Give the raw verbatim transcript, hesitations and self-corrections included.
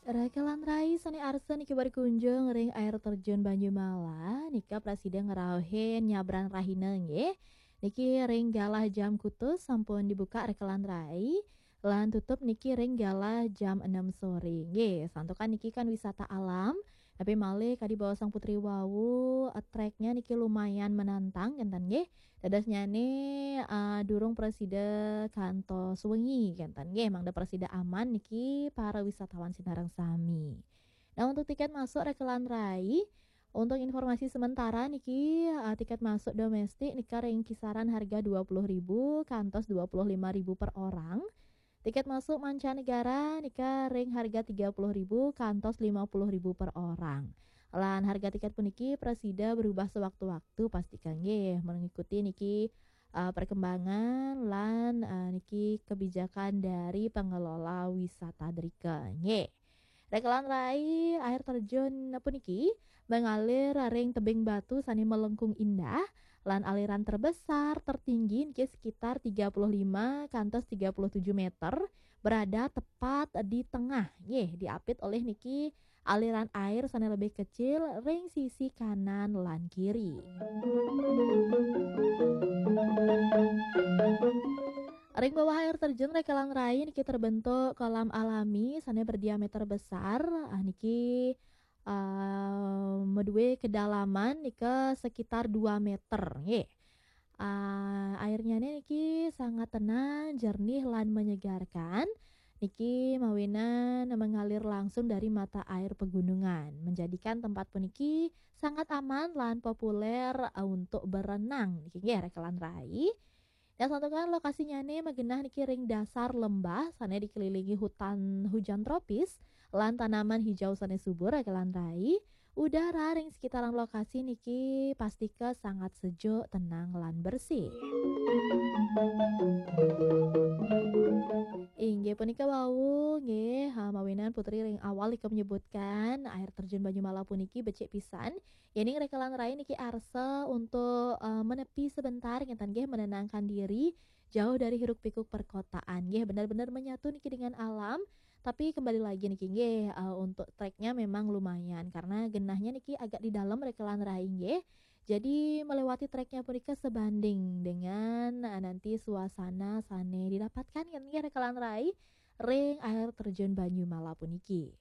Rakelan rai sane arsa niki berkunjung ring air terjun Banyumala, nika prasida ngrauhin nyabran rahina nggih. Niki ring galah jam kutus sampun dibuka rakelan rai, lan tutup niki ring galah jam enam sore nggih. Santukan niki kan wisata alam, tapi malih kadi baosang Putri wau, eh, treknya niki lumayan menantang kenten nggih. Dadosnyane, eh, durung prasida kantos wengi kenten nggih, mangda prasida aman niki para wisatawan sinareng sami. Nah, untuk tiket masuk rakelan rai, untuk informasi sementara niki, eh, tiket masuk domestik nika ring kisaran harga dua puluh ribu kantos dua puluh lima ribu per orang. Tiket masuk mancanegara nika ring harga tiga puluh ribu kantos lima puluh ribu per orang. Lan harga tiket puniki prasida berubah sewaktu-waktu, pastika nggih mengikuti niki, eh, perkembangan lan, eh, niki kebijakan dari pengelola wisata drika nggih. Rakelan rai, air terjun puniki mengalir ring tebing batu sane melengkung indah, lan aliran terbesar tertinggi niki sekitar tiga puluh lima kantos tiga puluh tujuh meter, berada tepat di tengah nggih, diapit oleh niki aliran air sane lebih kecil ring sisi kanan lan kiri. Ring bawah air terjun rakelan rai niki terbentuk kolam alami sane berdiameter besar, ah, niki, ah, madue kedalaman nika sekitar dua meter nggih. Ah, airnyane niki sangat tenang, jernih, lan menyegarkan. Niki mawinan mengalir langsung dari mata air pegunungan, menjadikan tempat puniki sangat aman lan populer, eh, untuk berenang. Niki nggih rakelan rai. Nah, santukan lokasinyane magenah niki ring dasar lembah sane dikelilingi hutan hujan tropis lan tanaman hijau sane subur rakelan rai. Udara ring sekitaran lokasi niki pastika sangat sejuk, tenang, lan bersih. Inggih punika wau nggih, ha, mawinan Putri ring awal nika menyebutkan air terjun Banyumala puniki becik pisan. Yening rakelan rai niki arsa untuk, eh, menepi sebentar ngenten nggih, menenangkan diri, jauh dari hiruk pikuk perkotaan nggih, benar-benar menyatu niki dengan alam. Tapi kembali lagi niki nggih, eh, untuk treknya memang lumayan karena genahnya niki agak di dalam rakelan rai nggih. Jadi melewati treknya punika sebanding dengan, eh, nanti suasana sane didapatkan ngenten nggih rakelan rai ring air terjun Banyumala puniki.